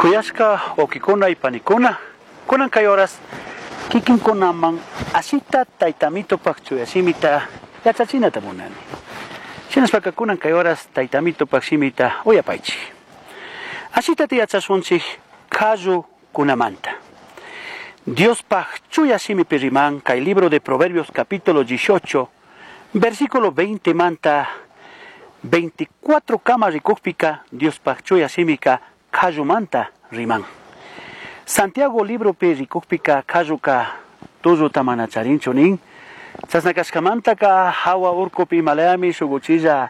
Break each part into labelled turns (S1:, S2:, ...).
S1: Kuyashka wawkikuna y panikuna, kunan kay horas kikinkunaman asita taytamitupak chuya shimita yachachinata munani. Shinashpaka kunan kay horas taytamitupak shimita uyapaychik. Asita yachashunchik kunamanta. Diospaj chuya shimipi riman kay libro de Proverbios capítulo 18, versículo 20 manta 24 kama rikukpika Diospaj chuya shimika kallumanta riman. Santiago libropi rikukpika kalluka tulluta mana charinchu nin. Chasna kashkamantaka hawa urkupi Himalayami shuk uchilla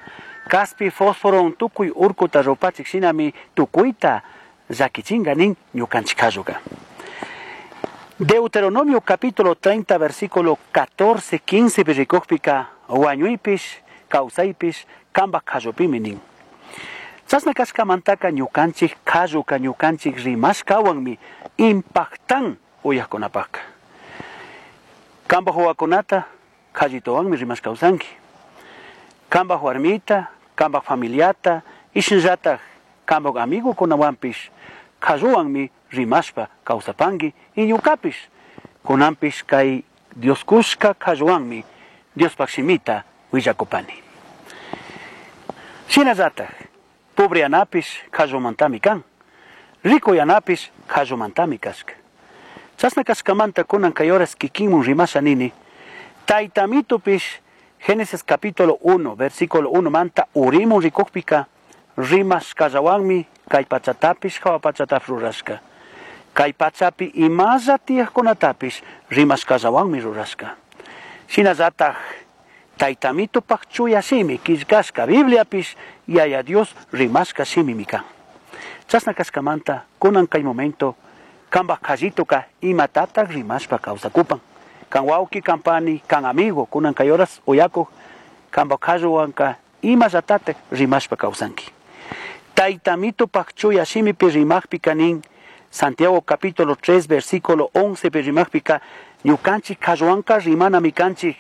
S1: kaspi fósforo tukuy urkuta rupachik shinami tukuyta llakichinga nin ñukanchik kalluka. Deuteronomio capítulo 30 versículo 14 15 rikukpika wañuypish kawsaypish kambak kallupimi nin. Chasna kashkamantaka ñukanchik kalluka ñukanchik rimashkawanmi impactan uyakkunapaka. Kambak wawakunata kallituwanmi rimashka kawsanki. Kambak warmita, kambak familiata, ishinllatak kambak amigukunawanpish kalluwanmi rimashpa kawsapanki y ñukapish kunanpish kay Dios kushka kalluwanmi Diospak shimita willakupani. Shinallatak pobreyanapish kallumantami kan, rikuyanapish kallumantami kashka. Chasna kashkamanta kunan kay horas kikinmun rimasha nini, taytamitupish Génesis capítulo 1, versículo 1 manta urimun rikukpika rimashkallawanmi kay pachatapish hawa pachatapish rurashka. Kay pachapi imalla tiyakkunatapish rimashkallawanmi rurashka. Shinallatak taytamitupak chuya shimi killkashka Bibliapish Yaya Dios rimashka shimimi kan. Chasna kashkamanta kunan kay momento kambak kallituka imatatak rimashpa kawsakupan. Kan wawki, kan pani, kan amigo, kunan kay horas uyakuk kambak kalluwanka imallatatak rimashpa kawsanki. Taytamitupak chuya shimipi rimakpika nin Santiago capítulo 3 versículo 11 pi rimakpika ñukanchik kalluwanka rimanami kanchik.